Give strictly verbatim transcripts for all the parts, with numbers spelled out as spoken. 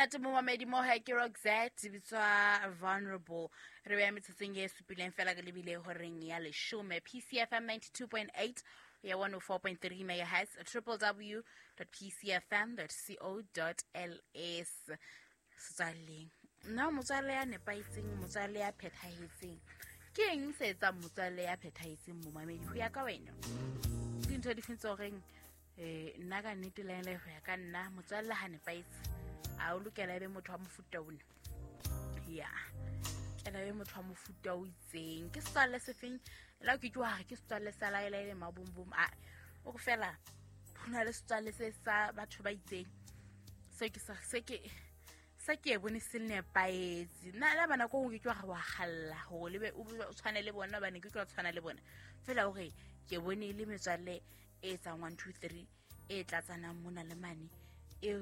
Monate momamedi mo hae ke Roxette, bitswa Vulnerable. Re beya metsotsong e supileng fela re lebile horeng ya leshome. P C F M ninety-two point eight ya one oh four point three megahertz, w w w dot p c f m dot co dot l s. Setswalleng, nna motswalle ya nepahetseng, motswalle ya phethahetseng, ke eng se etsang motswalle ya phethahetseng, momamedi, ho ya ka wena? Ke dintho di feng tse horeng um nna ka nnete laele ho ya ka nna motswalle ha nepahetse a o lokela ebe motho wa mofuta ona, ya kela be motho wa mofuta o itseng? Ke setswalle se feng la ke ke wa re ke setswalle sa laelaele mabombom? A o re fela ho na le setswalle se sa batho ba itseng se ke sa se ke se ke e bone se nepahetse. Nna le bana ko ke ke wa re wa kgalla hore le be o be o tshwane le bona, hobane ke ke wa tshwana le bona fela hore ke bone e le metswalle e etsang one two three, e tlatsanang mona le mane, e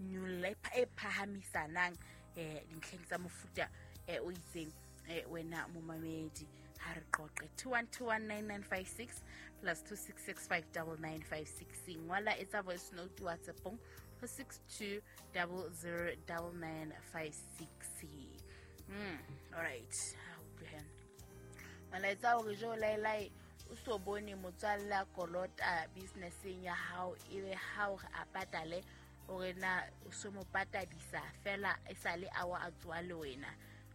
nyolla, e pha- e phahamisanang um dintlheng tsa mofuta um o itseng. um wena momamedi, ha re qoqe. Two one two one nine nine five six plus two six six five double nine five six. Ngwala, etsa voice note WhatsAppong ho six two double zero double nine five six. mm alright, ha utlwe he molaetsa hore jo laelae o so bone motswalle a kolota businesseng ya hao, ebe ha o re a patale hore na o so mo patadisa fela e sale awa a tsoa le wena.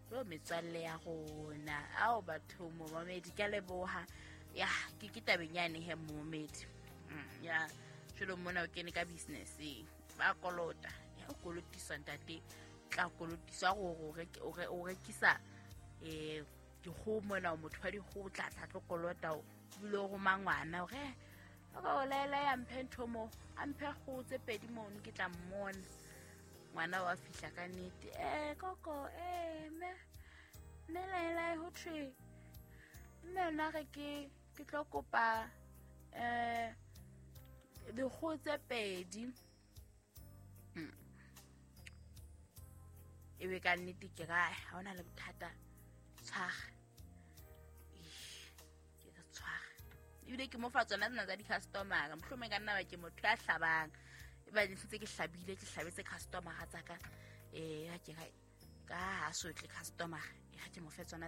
Jo, metswalle ya rona ao batho, momamedi, ke a leboha. Ya ke ke tabeng yane he, momamedi. Mm, ya jalo mona o kene ka businesseng, ba kolota, ya o kolotiswa, ntate tla kolotiswa gore o reke- o re- o rekisa um dikgoho mona, o motho wa dikgoho, tla tla tlo kolota, o ebile o roma ngwana hore o laela ya mphe ntho mo, a mphe kgoho tse pedi mono, ke tla mmona. Ngwana wa fihla ka nnete, eh koko, eh mme mme laelae, ho thwe mme yona re ke ke tlo kopa um dikgoho tse pedi. Mm. Ebe ka nnete ke ra ha hona le bothata, tshwara. Ih, ke re tshwara, ebile ke mo fa tsona tsena tsa di-customera. Mohlomong ka nna ba ke motho ya hlabang, e ba ntse ke hlabile, ke hlabetse customera tsa ka. um ha ke ra ka ha sotle customera, e ha ke mo fe tsona.